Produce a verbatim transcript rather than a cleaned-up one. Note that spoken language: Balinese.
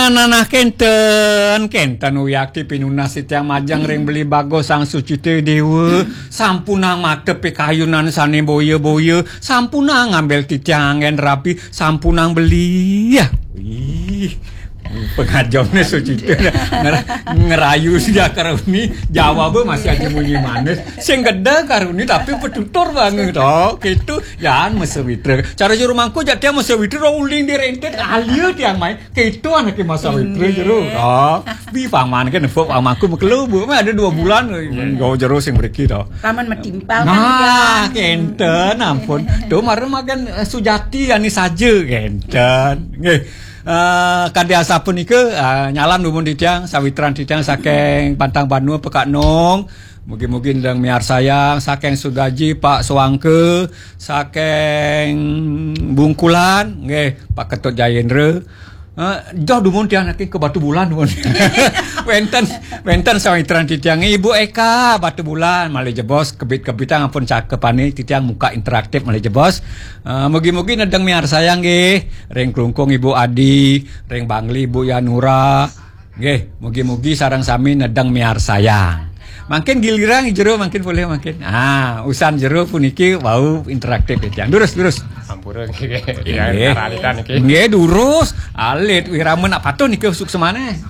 Nanah kenten, kenten wiakti pinunas titiang majeng ring Beli Bagus Sang Sucita Dewa. Sampunang mata pikayunan sane boya-boya, sampunang ngambil titiang anggen rapi, sampunang beli. Ya. Wih, pengajamnya Sucita nger- ngerayu sejak karuni, jawabnya masih aja munyi manis. Sing gede karuni tapi petutur banget. Oh, gitu. Yan mesewitra. Cara juru mangku jak tiang mesewitra uling di rentet alia tiang main. Kéto anaké Mas Sawitra jero. Oh, bi paman kan nepuk pamanku makelo, Bu. Mah ada dua bulan gawa jero sing mriki to. Paman matimpal kan. Nah, ya. Kenten ampun. Tuh mara makan eh, Sujati ani saja kenten. Nggih. Eh, kadi asapunika eh, nyalam dumun titiang sawitran titiang saking Pantang Banua Pekak Nong. Mugi-mugi ndang miarsayang saking Sugaji Pak Suangke, saking Bungkulan nggih Pak Ketut Jayendra. Eh, joh dumun tiang niki ke Batu Bulan dumun. Wenten wenten sawitran titiang Ibu Eka Batu Bulan malih jebos kebit-kebitang ampun cakepane titiang muka interaktif malih jebos. Eh, mugi-mugi nedeng miarsayang nggih ring Klungkung Ibu Adi, ring Bangli Ibu Yanura. Nggih, mugi-mugi sareng sami nedeng miarsayang. Mangkin giliran jero mangkin boleh mangkin. Ah, usan jero puniki wau interaktif ya. Durus, durus. Ampura nggih. Nggih. Karalitan niki. Nggih, durus. Alit wirama nak patuh niki suksemane.